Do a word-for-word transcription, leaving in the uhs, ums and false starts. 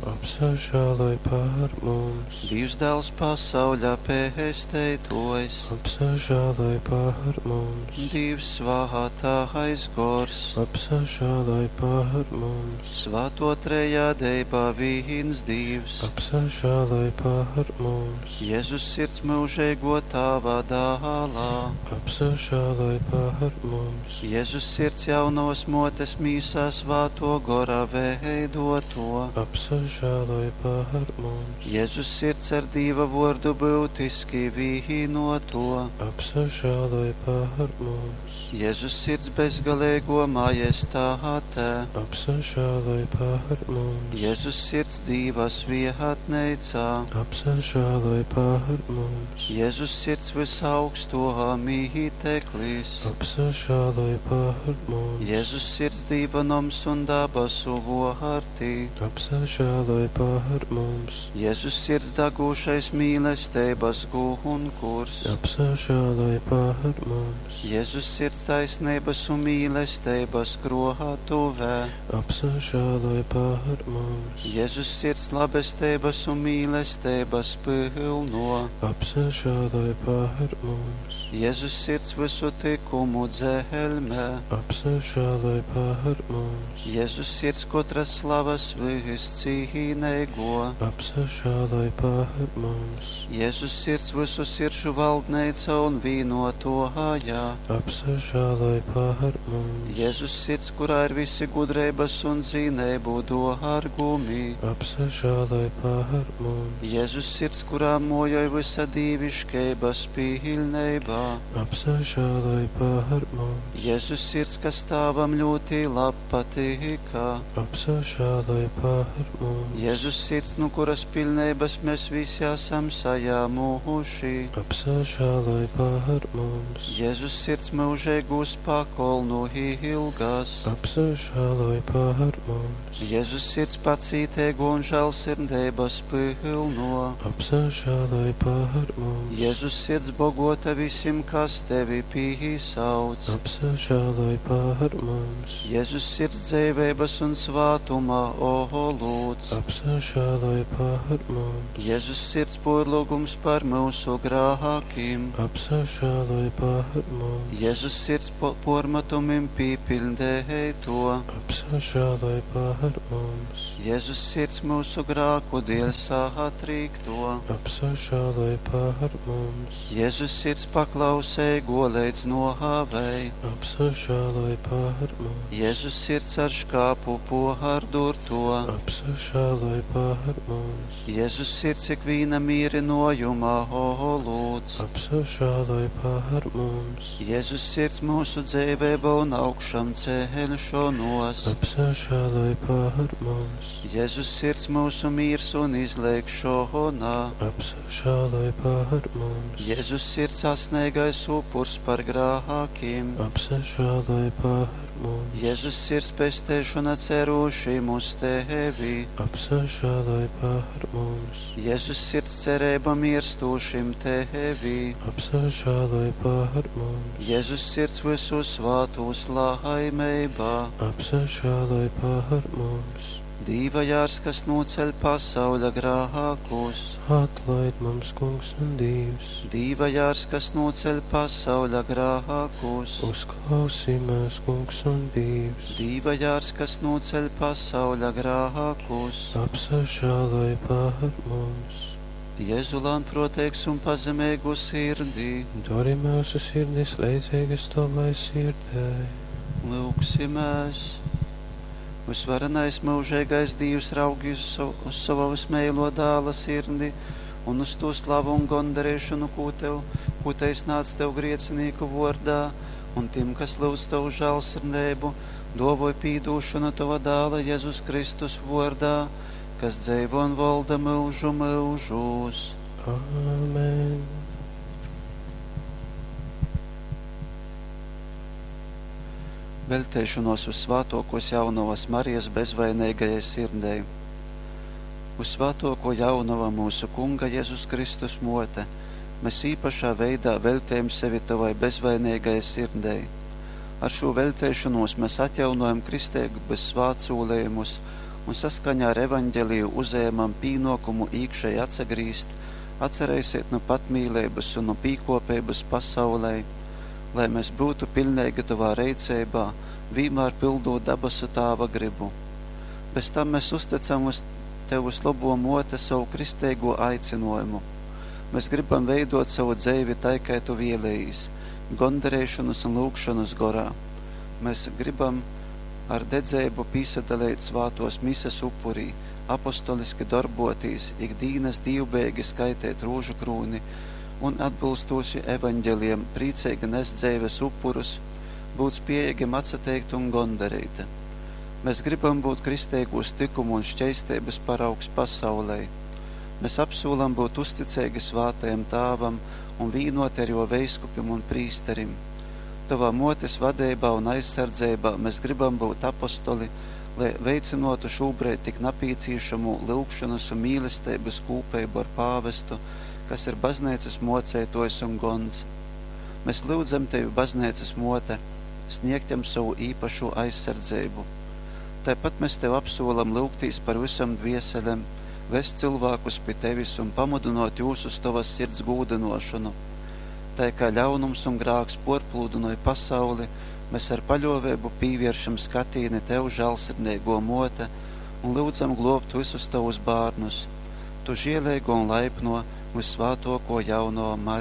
Apsažāloj par mums! Dīvs dāls pasauļa pēsteitōjs, Apsažāloj par mums! Dīvs svātais gors, Apsažāloj par mums! Svāto trejadeiba vīns Dīvs, Apsažāloj par mums! Jezus sirds myužeigō tāva dālā, Apsažāloj par mums! Jezus sirds jaunovas mōtes mīsā svātō gora veidoto, Apsažāloj par mums! Jezus sirds ar Dīva vōrdu byutiski vīnoto, Apsažāloj par mums! Jezus sirds bezgaleigō majestāte, Apsažāloj par mums! Jezus sirds Dīva svietneicā, Apsažāloj par mums! Jezus sirds vysaugstō mīteklis, Apsažāloj par mums! Jezus sirds Dīva noms un dabasu vōrti, Apsažāloj par mums! Jezus sirds dagūšais mīlesteibas gunkurs, Apsažāloj par mums! Jezus sirds taisneibas un mīlesteibas krōtuvē, Apsažāloj par mums! Jezus sirds labesteibas un mīlesteibas pylno, Apsažāloj par mums! Jezus sirds visu tykumu dzelmē, Apsažāloj par mums! Jezus sirds kotras slavas viscīneigo, Apsažāloj par mums! Jezus sirds visu sirdžu valdneica un vīnotōja, Apsažāloj par mums! Jezus sirds, kurā ir visi gudreibas un zineibu dōrgumi, Apsažāloj par mums! Jezus sirds, kurā mojoj visa dīviškeibas pilneibā, Apsažāloj par mums! Jezus sirds, kas tāvam ļoti labpatika, Apsažāloj par mums! Jezus sirds, nu kuras pilneibas mēs visi esam sajāmuši, Apsažāloj par mums! Jezus sirds mūžīgūs pakolnu ilgas, Apsažāloj par mums! Jezus sirds pacīteigo un žēlsirdības pilno, Apsažāloj par mums! Jezus sirds bogota visiem, kas tevi pīsauc, Apsažāloj par mums! Jezus sirds dzīveibas un svātuma olūts, Apsažāloj par mums! Jezus sirds porlūgums par mūsu grākiem, Apsažāloj par mums! Jezus sirds po pormetumim pīpildēto, Apsažāloj par mums! Jezus sirds mūsu grāku dēļ satrīkto, Apsažāloj par mums! Jezus sirds paklausēgo līdz nohāvei, Apsažāloj par mums! Jezus sirds ar škāpu pohardurto, Apsažāloj par mums! Jezus sirds ikvīna mīrinojuma olūts, Apsažāloj par mums! Jezus sirds mūsu dzīvēba un augšām celšanos, Apsažāloj par mums! Jezus sirds mūsu mīrs un izlēkšona, Apsažāloj par mums! Jezus sirds asnīgais upurs par grākiem, Apsažāloj par mums! Jezus sirds pestēšana cerūšiem uz tevi, Apsažāloj par mums! Jezus sirds cerība mirstūšim tevi, Apsažāloj par mums! Jezus sirds visu svātus laimeibā, Apsažāloj par mums! Dīva jārs, kas noceļ pasauļa grākus, Atlaid mums, Kungs un Dievs! Dīva jārs, kas noceļ pasauļa grākus, Uzklausī mūs, Kungs un Dievs! Dīva jārs, kas noceļ pasauļa grākus, Apsažāloj par mums! Jēzu lānproteigs un pazemīgu sirdī, Dari mūsu sirdis leidzīgas tavai sirdei. lūgsimies! Visvarenais mūžīgais Dievs raugi uz, savu, uz savu vismīlo dāla sirdi un uz to slavu un gondarīšanu, ko tev, ko te iznāc tev griecinīku vordā, un tiem, kas lūdz tavu žēlsirdību, dovoj pīdūšanu tava dāla Jēzus Kristus vordā, kas dzīvo un valda mūžu mūžos. Āmen. Veltēšanos uz svētokos jaunavas Marijas bezvainīgajai sirdei. Uz svētoko jaunava mūsu Kunga Jēzus Kristus mote, mēs īpašā veidā veltējam sevi tavai bezvainīgajai sirdei. Ar šo veltēšanos mēs atjaunojam kristēgas svētsūlējumus un saskaņā ar Evaņģeliju uzejamam pīnōkumu īkšeji atsagrīzt, atsaraiseit nu patmīleibas un nu pīkōpeibas pasaulei, lai mēs būtu piļneigi Tovā reiceibā, vīnmār pildūt dabasu Tāva grybu. Bez tam mēs uzticam uz Tev vyslobō Mōte sovu kristeigū aicynōjumu. Mēs gribam veidōt sovu dzeivi tai, kai Tu vēlējīs, gondareišonas un lyugšonas gorā. Mēs gribam ar dedzeibu pīsadaleit svātōs mises upurī, apostoliski dorbōtīs, ik dīnas dīvbejeigi skaiteit rūžukrūni un atbylstūši Evaņģelijam prīceigi nest dzeives upurus, būt spējeigim atsateikt un gondareit. Mēs gribam būt kristeigūs tykumu un šķeisteibas paraugs pasaulei. Mēs apsūlam būt uzticeigi svātajam Tāvam un vīnoti ar jo veiskupim un prīsterim. Tavā mōtes vadeibā un aizsardzeibā mēs gribam būt apostoli, lai veicinotu šobrīd tik napīcīšamu lyugšanas un mīlesteibas kūpeibu ar pāvestu, kas ir bazneicas moceitojs un gons. Mēs lyudzam Tevi, bazneicas mote, sniegt jam savu īpašo aizsardzeibu. Tāpat mēs Tev apsolam lūgtīs par visam dvieselēm, vest cilvēkus pie Tevis un pamudinot jūs uz Tavas sirds gūdinošanu. Tā kā ļaunums un grāks porplūdinoja pasauli, mēs ar paļovēbu pīvēršam skatīni Tev, žēlsirdīgo mote, un lūdzam globt visus Tavus bērnus. Tu žēlīgo un laipno, visvētoko jauno Mariju.